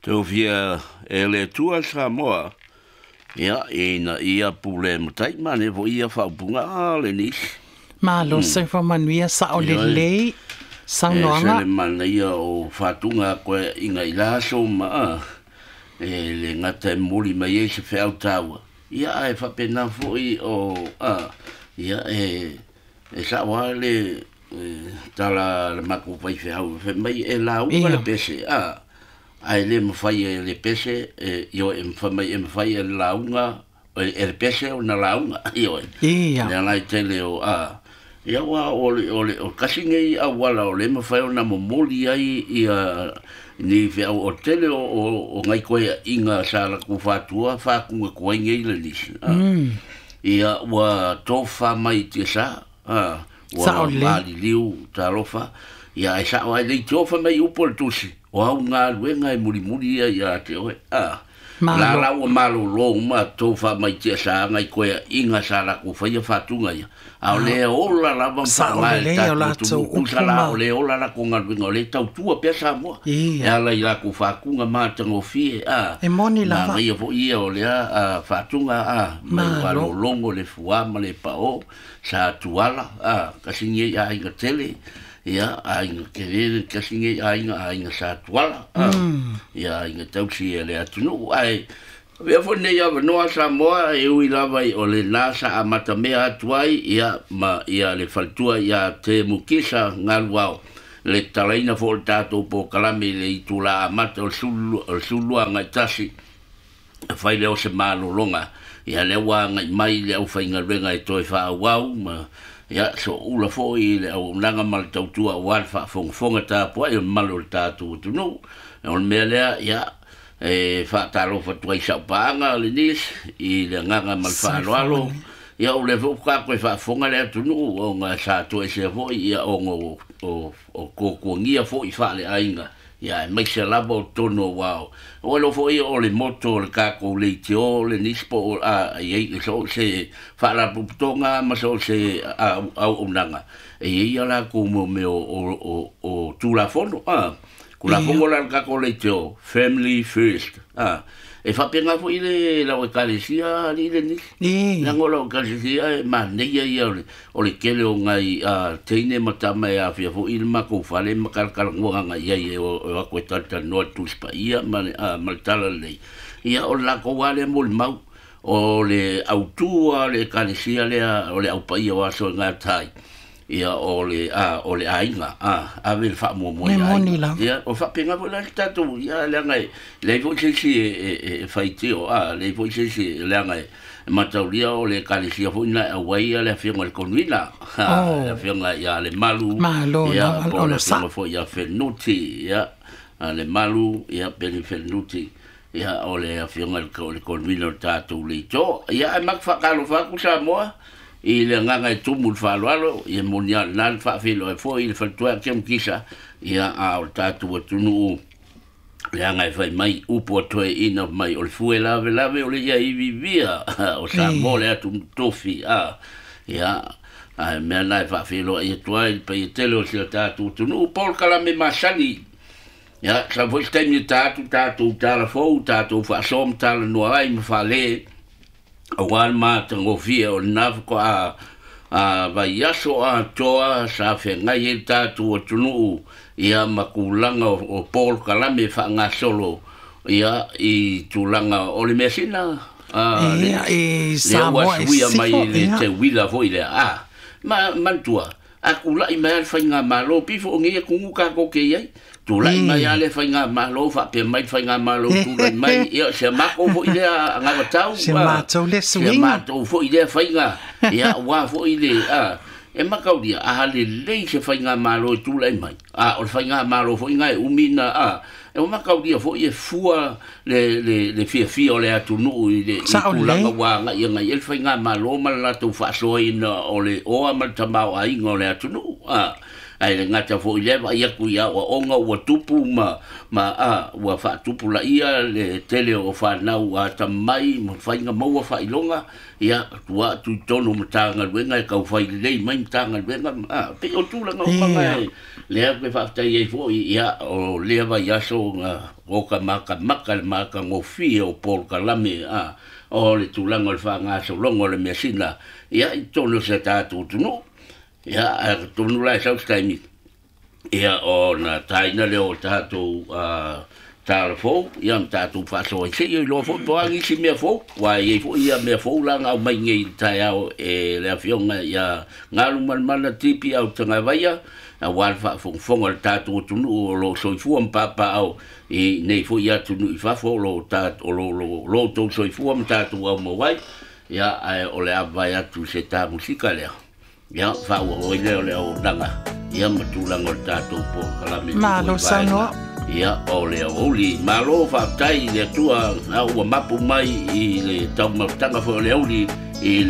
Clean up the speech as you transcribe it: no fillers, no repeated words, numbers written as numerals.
Tofia e le Atua Samoa, ia, ina ia pule matai ma ne fo ia faaupuga a le nisi. Malo, soifua manuia, sa'o lelei E saunoaga. Se le manaia o fatuga koe inga i la aso ma a, e le gata e momoli mai ai se feau taua. Ia ae faapena foi o a, ia e sa'o lava le tala a le matou faifeau fai mai e lauga le pese a, ae le mafai e le pese e ioe, e mafai mai e mafai e le lauga e le pese ona lauga ioe. Le ala i tele o a ia ua o le kasi nei auala o le mafai ona momoli ai ia ni feau o tele o ngai koeaʻiga sa latou fatua faatuga tuai nei le nisi a. Ia ua tofa mai tiasa a ua Sa'o lelei. Maliliu talofa ia ae sa'o ai le tiofa mai upu o le tusi o au galuega e mulimuli ia ia te oe a Malo. La la ua malōlō uma tofa mai tiasa ngai koeaʻiga sa latou faia faatuga ia a o le ola lava ma Sa'o faaaoga e le lelei o tatou latou atunuu upu tusa la ma o le ola latou galuega o le tautua pea Samoa e ala i latou faatuga matagofie a E moni lava. manaia foi ia o lea a, faatuga a mai ua Malo. lologo le fuā ma le paʻō sa tuala a kasi nei aiga tele ia aiga kelele kasi nei aiga aiga sa tuala a ia aiga tausi e le atunuu ae avea foi nei avanoa Samoa e ui lava i o lena sa amatamea atu ai ia ma ia le faletua ia te mukisa galuao le talaina foi o le tatou polokalame i le itulā amata o le sulu o le 12 agai 1 e fai lea o se malologa ia lea ua agai mai le aufaigaluega e toe faaauau ma ia soʻula foi le auaunaga ma le tautua auā le faafogafoga tapuaʻi o le mamalu o le tatou atunuu o le mea lea ia e faatalofa atu ai sau paaga le nisi i le agaga ma le Soifua faaaloalo manuia. ia o lea foi ua toe faafofoga le atunuu ona sa toesea foi ia ona o tuatuagia foi faaleaiga ia aemaise lava o totonu aua o ua foi o le moto o le tatou leitio le nisi po o a i ai so o se faalapotopotoga ma so o se auaunaga e i ai ia latou mo mea o tulafono a Tulafono la le tatou leitio, family first a e faapena foi le lau ekalesia alii le nisi leaga o lau ekalesia e manaia ia o le tele o nai a teine ma tama e afia foi le matou fale ma talatalanoa agai ai e o atu e talatalanoa le Tusi Paia ma le a ma le Talalelei ia o le latou lava lea molimau o le autū a le ekalesia lea o le aupaia o aso e gata ai ia o le a o le aiga a ave le faamuamua E i moni aiga lava. ia o faapena foi la le tatou ia leaga e leai foi se isi e faitio a leai foi se isi leaga e mataulia o le ekalesia foi na e auai ia le afioga i le Konuina a le afioga ia le Malu Malo ia lava po o le ona afioga sa. foi ia Fenuti ia a le Malu ia Peni Fenuti ia o le afioga i le Konuina o le tatou leitio ia ae matou faatalofa atu Samoa i le agaga e tumu le faaaloalo ia moni a lena le faafeiloai foi i le faletua ia Kemukisa ia a o le tatou atunuu leaga e fai mai upu a toeaina mai o le fue lavelave o le ia ivivia o Samoa le atunuu tofi a ia ae mea na e faafeiloai atu ai le paia tele o si o tatou atunuu polokalame masani ia sau foi se taimi e ta atu tatou tala fou tatou faasoa ma talanoa ai ma faale auā le matagofie o lena faatoa a vaiaso atoa sa feagai ai le tatou atunuu ia ma tulaga o polokalame faagasolo ia i tulaga o le measina a le Ia e lea ua Samoa e suia mai sifo le ia. teuila foi lea a ma manatua a tula'i mai a le faigamalo pifo o nei atunuu tatou te i ai tula'i mai a le faigamalo faapea mai le faigamalo tula'i mai ia se matou foi lea agavatau Se a matou le se suiga. matou foi lea faiga ia auā foi le a e mataulia a lelei se faigamalo e tulai mai a o le faigamalo foi na e umi na a e ua mataulia foi e fua le fiafia o le atunuu i le i Sa'o tulaga lelei. ua agai agai ai le faigamalo ma le latou faasoaina o le oa ma le tamaoaiga o le atunuu a Ae le gata fo'i lea vaai atu i aoaoga ua tupu ma ma a ua faatupulaia le tele o fanau atamamai ma faiga maua faailoga, ia tua atu i totonu o Matagaluega e taufai lelei mai Matagaluega a pei o tulaga uma na Ia. lea ou te faafetai ai foi. Ia o lea vaiaso na oka matamata le matagofie o polokalame a o le tulaga o le faagasologa o le measina ia i totonu o si a tatou atunuu. Ia ae atonu la e sau se taimi, ia ona taina lea o tatou tala fou, ia ma tatou faasoa ai seia iloa foi po o a nisi mea fou, aua e i ai foi ia mea fou la na aumai nei i le taeao e le afioga ia Galumalemana Tipi Autagavaia, aua le faafogafoga a le tatou atunuu o lo o soifua ma papaaao i nei foi atunuu i fafo o lo o lo outou soifua ma tatou aumau ai. Ia ae o le a vae atu i se ta musika lea, ia faaauau ai lea o le auaunaga ia ma tulaga o le tatou polokalame i Malo foi vaega saunoa. ia o le aoauli. Malo faafetai i le Atua a ua mapu mai i le taumafataga foi o le auli i le